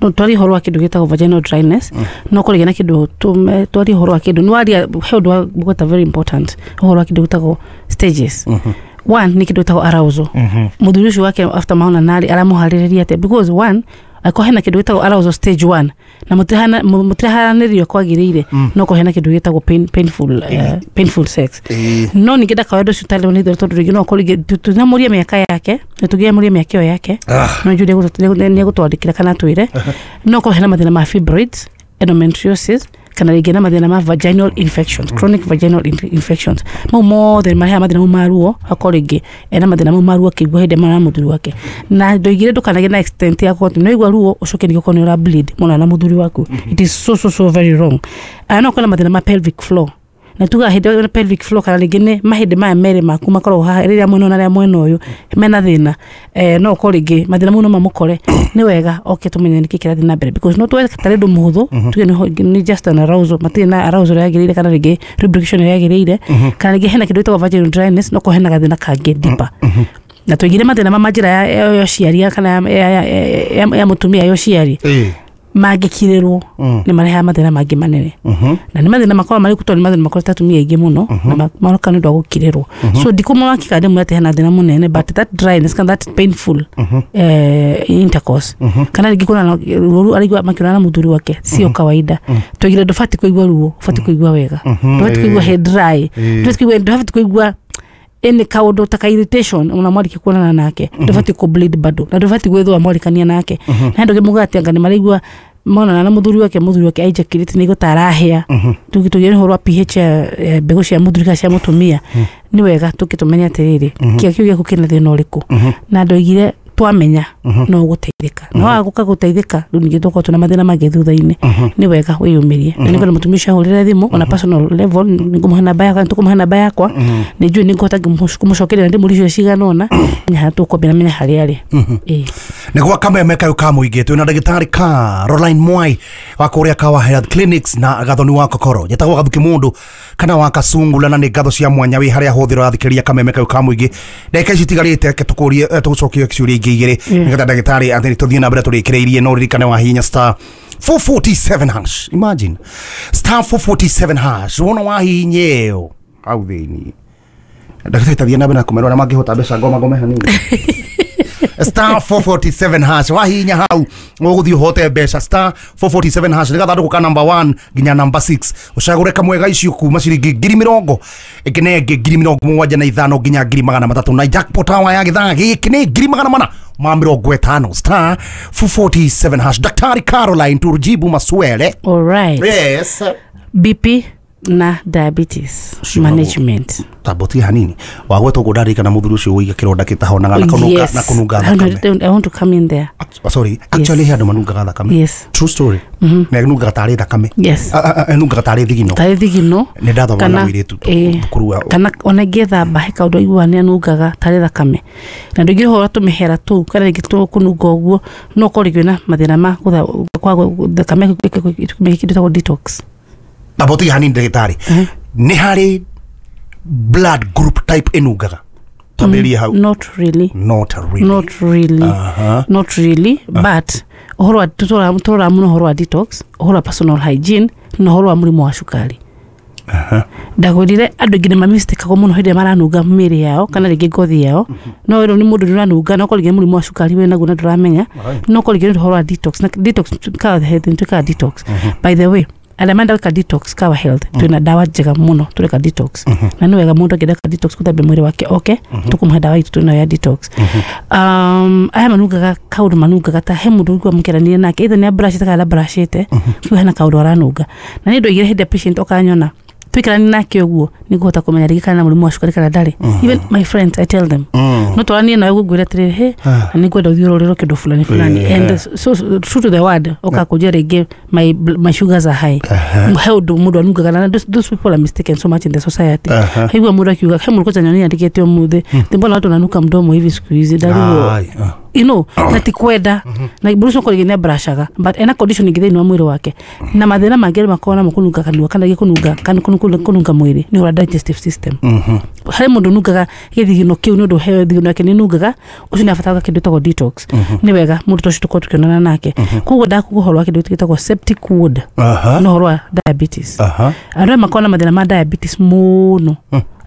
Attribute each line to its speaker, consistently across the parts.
Speaker 1: No twarie ũhoro wa kĩndũ gĩtagwo vaginal dryness, no kũrĩgĩa na kĩndũ twarie ũhoro wa kĩndũ nĩwaria he ũndũ wa gweta very important, ũhoro wa kĩndũ gĩtagwo stages. One nĩ kĩndũ gĩtagwo arousal. Mũthuri ũcio wake after maona narĩ aramũharĩrĩria atĩa? Because one, angĩkorwo hena kĩndũ gĩtagwo arousal stage one na mũtiraharanĩrio kwagĩrĩire, no korwo hena kĩndũ gĩtagwo painful sex. No ningĩ ndakaoe ũndũ ũcio ũtarĩ nĩ tondũ rĩngĩ no ũkorwo rĩngĩ tũtinamũria mĩaka yake na tũngĩamũria mĩaka ĩyo yake, no njũrie nĩ egũtwandĩkĩra kana atwĩre. No korwo hena mathĩna ma fibroids, endometriosis, kana rĩngĩ na mathĩna ma vaginal infections, chronic vaginal infections, mau mothe marehaga mathĩna mau ma ruo. Akorwo rĩngĩ ena mathĩna mau ma ruo akĩigua hĩndĩ ĩmwe na mũthuri wake, na ndoigire ndũkanagĩe na extent ya gũkorwo atĩ nĩwaigua ruo ũcoke ningĩ ũkorwo nĩ ũra bleed mũno na mũthuri waku. It is so so so very wrong. Aya, no ũkorwo na mathĩna ma pelvic floor, na tugaga hĩndĩ ĩyo pelvic floor kana rĩngĩ nĩ mahĩndĩ maya merĩ maku makoragwo haha, rĩrĩa mwena ũyũ na rĩrĩa mwena ũyũ mena thĩna, no ũkorwo rĩngĩ mathĩna mau no mamũkore. Nĩ wega oke tũmenye nĩkĩ kĩrathiĩ na mbere, because no tuwe tarĩ ũndũ mũhũthũ tuge nĩ just an arousal, matirĩ na arousal ĩrĩa yagĩrĩire kana rĩngĩ lubrication ĩrĩa yagĩrĩire, kana rĩngĩ hena kĩndũ gĩtagwo vaginal dryness, no korwo hena gathĩna kangĩ deeper. Na tũigire mathĩna ma njĩra ya ũciari kana ya mũtumia ya ũciari mangĩkirĩrwo nĩ marehaga mathĩna mangĩ manene, na nĩ mathĩna makoragwo marĩ tondũ nĩ mathĩna makorete atumia aingĩ mũno na maroka nĩ ũndũ wa gũkirĩrwo. So ndikũmawakika ndĩmwĩre atĩ hena thĩna mũnene, but that dryness kana that painful intercourse kana rĩngĩ kuona ruo araigua makĩonana na mũthuri wake sio kawaida. Twaigire ndũbatiĩ kũigua ruo, ũbatiĩ kũigua wega, ndũbatiĩ kũigua he dry, ndũbatiĩ kũigua ĩnĩ kaũndũ ta ka irritation ona mwarĩkia kuonana nake, ndũbatiĩ kũ bleed bado, na ndũbatiĩ gwĩthũa mwarĩkania nake. Na andũ muga atĩ anga nĩ maraigua monana na mũthuri wake, mũthuri wake ejaculate nĩ ta arahĩa. Tũgĩre ũhoro wa pH ya mbegũ cia mũthuri kana cia mũtumia, nĩ wega tũkĩtũmenya atĩrĩrĩ, kĩo kĩu gĩaku kĩna thĩna ũrĩkũ. Na ndoigire twamenya no ũgũteithĩka, na waga gũka gũteithĩka rĩu ningĩ tũkorwo twĩna mathĩna mangĩ thutha-inĩ. Nĩ wega wĩyũmĩrie, na nĩngwenda mũtumia ũcio ahũrĩre thimũ ona personal level. Nĩngũmũhe namba yakwa, tũkũmũhe namba yakwa, nĩ njũĩ nĩngũhota kũmũcokeria na ndĩmũrie ciũria cigana ũna, menya harĩa tũkwambia na menya harĩa arĩ. Ĩĩ.
Speaker 2: Nä gwa kameme kayå ka må ingä twä na ndagätarä Caroline Mwai wa kå rä a Kawa Health Clinics na Gathoni wa Kokoro. Njätagwo Gathuki Mundu kana wa Kacungula, na nä ngatho cia mwanya wä harä a hå thä ro rathikä ria kameme kayå ka må ingä. Ndagä ici itigarä te tå gå cokie ciå ria ingä igä rä nä getha ndagätarä atä tå thiä na mbere tå rä kä rä irie. No ririkane wa hinya *447#. Imagine, *447# wona wahinya ä yo hau thä inä. Ndagätarä tathiä na mbere na kå merwo arä a mangä hota mbeca ngoma ngome hanini. *447# wahinya hau ũgũthiĩ ũhote mbeca. *447# nĩ gathandũkũ ka number 1 nginya number 6, ũcagũre kamwe ga icio kuma ciringi 70,000, ĩngĩ na ĩngĩ 75,000 nginya 300,000, na jackpot hawa ya gĩthaa gĩkĩ nĩ 450,000. *447#. Daktari Caroline, tujibu maswele.
Speaker 1: All right.
Speaker 2: Yes.
Speaker 1: BP na diabetes management.
Speaker 2: Tambotie hanini wagwetwo ũguo, ndarikana mũthuri ũcio wĩiga kĩronda kĩtahonaga na kũnunga na kũnunga thakame.
Speaker 1: I want to come in there.
Speaker 2: Oh, sorry, actually he andũ manungaga thakame. True story. Na nungaga tarĩ thakame. Nungaga tarĩ thigino.
Speaker 1: Tarĩ thigino.
Speaker 2: Nĩ ndathoma na mũirĩtu thukuru wa
Speaker 1: kana ona ngĩthamba he kaũndũ aiguaga nĩ anungaga tarĩ thakame. Na ndũingĩre ũhoro tũmĩhera tũu kana rĩngĩ tũkũnunga ũguo, no ũkorwo rĩngĩ wĩna mathĩna ma kwa thakame kĩndũ gĩtagwo detox.
Speaker 2: Tambotie hanini, ndagĩtarĩ, nĩ harĩ blood group type ĩnungaga? Twambĩrĩrie hau.
Speaker 1: Not really.
Speaker 2: Not really.
Speaker 1: Not really. Not really, but ũhoro wa tũroraga mũno ũhoro wa detox, ũhoro wa personal hygiene na ũhoro wa mũrimũ wa cukari. Ndakwĩrire andũ aingĩ nĩ mamistĩkagwo mũno hĩndĩ ĩrĩa maranunga mĩĩrĩ yao kana rĩngĩ ngothi yao. No ĩno nĩ mũndũ nĩ ũranunga, no korwo rĩngĩ nĩ mũrimũ wa cukari wĩ naguo na ndũramenya, no korwo rĩngĩ nĩ ũhoro wa detox. Na detox, Kawa Health nĩ twĩkaga detox. By the way, arĩa marenda gwĩka detox, Kawa Health twĩna ndawa njega mũno tũreka detox, na nĩ wega mũndũ angĩenda gwĩka detox, gũthambia mwĩrĩ wake, oke tũkũmũhe ndawa itũ twĩnayo ya detox. Aya manungaga kaũndũ, manungaga ta he mũndũ ũigua mũkĩaranĩria nake, either nĩ abrashĩte kana ndabrashĩte, kĩu hena kaũndũ aranunga. Na nĩ ndoigire hĩndĩ ya patient okanyona tũikaranie nake ũguo, nĩngũhota kũmenya rĩngĩ kana na mũrimũ wa cukari kana ndarĩ. Even my friends, I tell them, no twaranie nawe ũguo ngwĩre atĩrĩrĩ, he na nĩngwenda ũthiĩ ũrorerwo kĩndũ fulani fulani, and so true to the word ũkakũnjia rĩngĩ my sugars are high. He ũndũ mũndũ anungaga, na those people are mistaken so much in the society. Haigua mũndũ akiuga he mũndũ kwanja nyoni andĩkĩte ũmũthĩ "Ati mbona watu wananuka mdomo hivi siku hizi?" Ndarigwo na ti kwenda na mũndũ ũcio korwo nĩ abrashaga, but ena condition ĩngĩ thĩinĩ wa mwĩrĩ wake na mathĩna mangĩ arĩa makoragwo namo kũnunga kanua kana rĩngĩ kũnunga kana kũnunga mwĩrĩ nĩ ũhoro wa digestive system. Harĩ mũndũ nungaga gĩthigino kĩu nĩ ũndũ heo thigino yake nĩ nungaga, ũcio nĩ abataraga kĩndũ gĩtagwo detox. Nĩ wega mũndũ ta ũcio tũkorwo tũkĩonana nake. Koguo ndakuga ũhoro wa kĩndũ gĩtagwo septic wound na ũhoro wa diabetes. Andũ aya makoragwo na mathĩna ma diabetes mũno,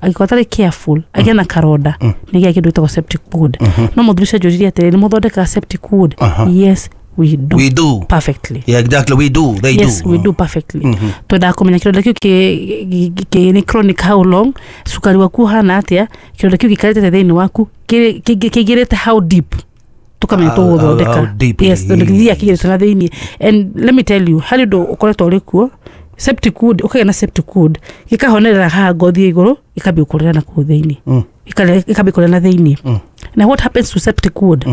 Speaker 1: angĩkorwo atarĩ careful agĩe na karonda nĩ gĩa kĩndũ gĩtagwo septic wound. No mũthuri ũcio anjũririe atĩrĩrĩ, nĩ mũthondekaga septic wound? Yes, we do.
Speaker 2: We do.
Speaker 1: Perfectly.
Speaker 2: Yeah, exactly, we do. They
Speaker 1: yes,
Speaker 2: do.
Speaker 1: We do perfectly. Twendaga kũmenya kĩronda kĩu nĩ chronic how long, cukari waku ũhana atĩa, kĩronda kĩu gĩikarĩte thĩinĩ waku kĩingĩrĩte how deep, tukamenya tũgũthondeka.
Speaker 2: How deep
Speaker 1: yes,
Speaker 2: it
Speaker 1: tondũ
Speaker 2: is.
Speaker 1: gĩthiaga kĩingĩrĩte na thĩinĩ. And let me tell you, harĩ ũndũ ũkoretwo ũrĩ kuo, septic wound, ũkagĩa na septic wound gĩkahonerera haha ngothi ya igũrũ, gĩkambia gũkũrĩra na kũu thĩinĩ. Gĩkambia kũrĩra na thĩinĩ. Na what happens to septic wound?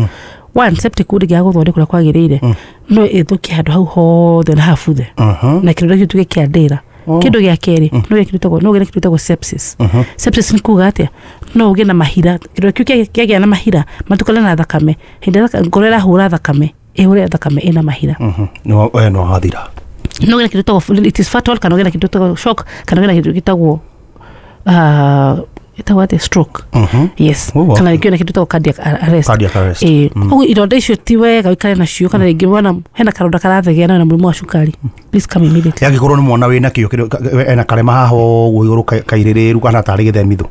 Speaker 1: One, septic wound ĩngĩaga gũthondekwo ũrĩa kwagĩrĩire, no ĩthũkie handũ hau hothe na habuthe na kĩronda kĩu tuge kĩa ndĩra. Kĩndũ gĩa kerĩ, no ũgĩe kĩndũ gĩtagwo no ũgĩe na kĩndũ gĩtagwo sepsis. Sepsis nĩ kuga atĩa? No ũgĩe na mahira, kĩronda kĩu kĩagĩa na mahira matukane na thakame, hĩndĩ ĩrĩa ngoro ĩrahũra thakame, ĩhũre thakame ĩna mahira.
Speaker 2: No we no hathira.
Speaker 1: No ũgĩe na kĩndũ gĩtagwo, it is fatal, kana ũgĩe na kĩndũ gĩtagwo shock, kana ũgĩe na kĩndũ gĩtagwo ĩtagwo atĩa, stroke. Yes.
Speaker 2: Oh, wow.
Speaker 1: Kana rĩngĩ na kĩndũ gĩtagwo cardiac arrest.
Speaker 2: Cardiac arrest.
Speaker 1: Ĩĩ, koguo ironda icio ti wega ũikare nacio, kana rĩngĩ wona hena karonda karathegea na wĩna mũrimũ wa cukari, please come immediately.
Speaker 2: Angĩkorwo nĩ mwana wĩna kĩo ena karema haha ũguo igũrũ kairĩrĩru kana tarĩ gĩthemithũ.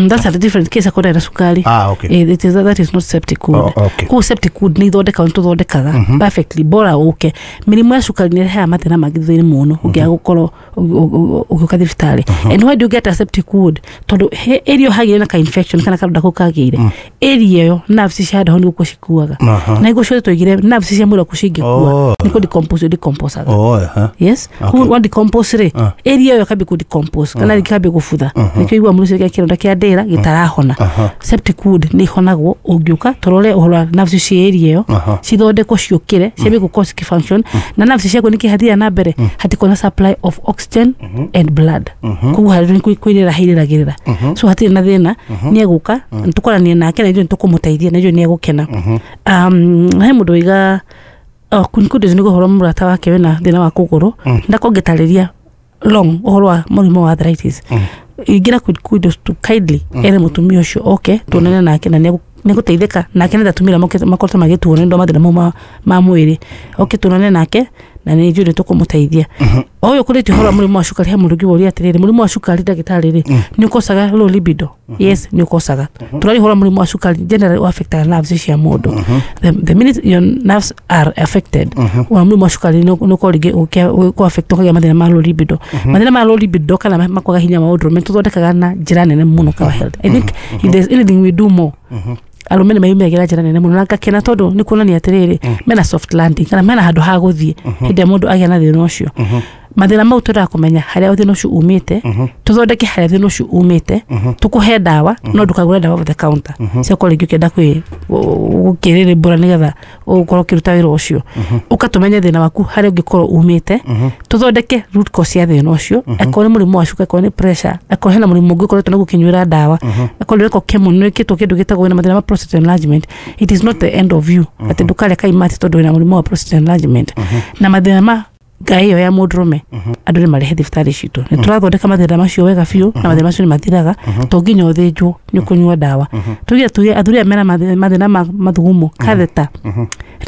Speaker 1: That's a different case, akorwo na cukari.
Speaker 2: Ah, okay.
Speaker 1: That is not septic wound.
Speaker 2: Oh, okay.
Speaker 1: Koguo septic wound nĩ ithondekagwo, nĩ tũthondekaga perfectly, bora ũke. Mĩrimũ ya cukari nĩ ĩrehaga mathĩna mangĩ thutha-inĩ mũno ũngĩaga gũkorwo ũgĩũka thibitarĩ. And why do you get a septic wound? Tondũ he area hagĩire na ka infection kana karonda kau kagĩire, area ĩyo nerves cia handũ hau nĩ gũkua cikuaga. Na nĩguo ciothe twaigire nerves cia mwĩrĩ waku cingĩkua nĩ kũ decompose decomposaga. Yes.
Speaker 2: Okay.
Speaker 1: Wa decompose rĩ, area ĩyo ĩkambia kũ decompose kana rĩngĩ ĩkambia gũbutha, nĩkĩo igua mũndũ ũcio kĩronda kĩa ndĩra gĩtarahona. Septic wound nĩ ihonagwo ũngĩũka tũrore ũhoro wa nerves cia area ĩyo, cithondekwo ciũkĩre ciambie gũkorwo cikifunction, na nerves ciaku nĩkĩ hathiaga na mbere, hatikorwo na supply of oxygen and blood, koguo harĩ nĩ kwĩrĩra hairĩragĩrĩra, so hatirĩ na thĩna, nĩ egũka tũkoranie nake na ithuĩ nĩ tũkũmũteithia na ithuĩ nĩ egũkena. He mũndũ waiga, oh, Queen nĩ ũhoro mũrata wake wĩna thĩna wa kũgũrũ, ndakorwo ngĩtarĩria long ũhoro wa mũrimũ wa arthritis. Ingĩra Queen Kudos to kindly ere mũtumia ũcio oke tuonane nake na nĩegũteithĩka nake, nĩ atumia makoretwo magĩtuo nĩ ũndũ wa mathĩna mau ma mwĩrĩ, oke tuonane nake na nĩ njũĩ nĩ tũkũmũteithia. O ũyũ kũrĩtie ũhoro wa mũrimũ wa cukari, he mũndũ ũngĩ woria atĩrĩrĩ, mũrimũ wa cukari ndagĩtarĩ rĩ, nĩ ũkosaga low libido? Yes, nĩ ũkosaga. Tũraria ũhoro wa mũrimũ wa cukari generally affectaga nerves cia mũndũ. The minute your nerves are affected wa mũrimũ wa cukari, nĩ ũkorwo rĩngĩ ũkĩ affect, ũkagĩa mathĩna ma low libido. Mathĩna ma low libido kana makwaga hinya wa ũndũrũme tũthondekaga na njĩra nene mũno. Kawa Health, I think if there's anything we do more, arũme nĩ mayumagĩra njĩra nene mũno, na ngakena tondũ nĩ kuonania atĩrĩrĩ, mena soft landing kana mena handũ ha gũthiĩ hĩndĩ ĩrĩa mũndũ agĩa na thĩna ũcio. Mathĩna mau twendaga kũmenya harĩa thĩna ũcio umĩte, tũthondeke harĩa thĩna ũcio umĩte, tũkũhe ndawa, no ndũkagũre ndawa over the counter ciakorwo rĩngĩ ũkĩenda kwĩ gũkĩrĩrĩmbũra nĩgetha ũkorwo ũkĩruta wĩra ũcio. Ũka tũmenye thĩna waku harĩa ũngĩkorwo umĩte, tũthondeke root cause ya thĩna ũcio, akorwo nĩ mũrimũ wa cuka, akorwo nĩ pressure, akorwo hena mũrimũ ũngĩ ũkoretwo naguo ũkĩnyuĩra ndawa, akorwo nĩ wekwo chemo, nĩ wĩkĩtwo kĩndũ gĩtagwo wĩna mathĩna ma prostate enlargement. It is not the end of you atĩ ndũkarĩa kaimati tondũ wĩna mũrimũ wa prostate enlargement. Na mathĩna ma ngai ĩyo ya mũndũrũme, andũ nĩ marehe thibitarĩ citũ, nĩ tũrathondeka mathĩna macio wega biũ, na mathĩna macio nĩ mathiraga, to nginya ũthĩnjwo, nĩ ũkũnyua ndawa. Tuge athuri aya mena mathĩna ma mathugumo, catheter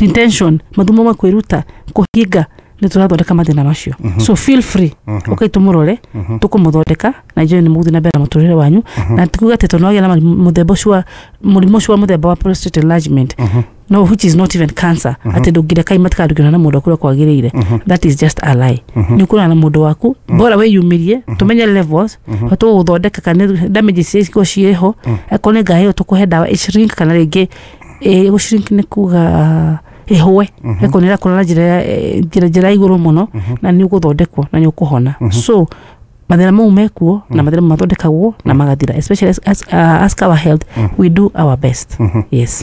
Speaker 1: retention, mathugumo ma kwĩruta kũhinga, nĩ tũrathondeka mathĩna macio. So feel free, ũkai tũmũrore, tũkũmũthondeka na ithuĩ nĩ mũgũthiĩ na mbere na mũtũrĩre wanyu. Na tikuga atĩ tondũ wagĩa na mũthemba ũcio wa mũrimũ ũcio wa mũthemba wa prostate enlargement, no, which is not even cancer, atĩ ndũngĩreka kaimati kana ndũngĩona na mũndũ waku ũrĩa kwagĩrĩire. That is just a lie. Nĩ ũkũrora na mũndũ waku, bora wĩyumĩrie tũmenye levels tũgũthondeka kana damages iria cikorwo ciĩho. Akorwo nĩ ngaĩ ĩyo, tũkũhe ndawa ĩshrink, kana rĩngĩ gũshrink nĩ kuga ĩhũe, ĩkorwo nĩ ĩrakũra na njĩra njĩra ya igũrũ mũno, na nĩ ũgũthondekwo na nĩ ũkũhona. So mathĩna mau mekuo na mathĩna mau mathondekagwo na magathira, especially as our health, we do our best, yes.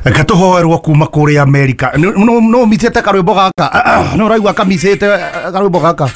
Speaker 2: Gatũhoerwo kuma kũrĩa Amerika. No mitĩte karwĩmbo gaka, no ũraigua kamicĩte karwĩmbo gaka.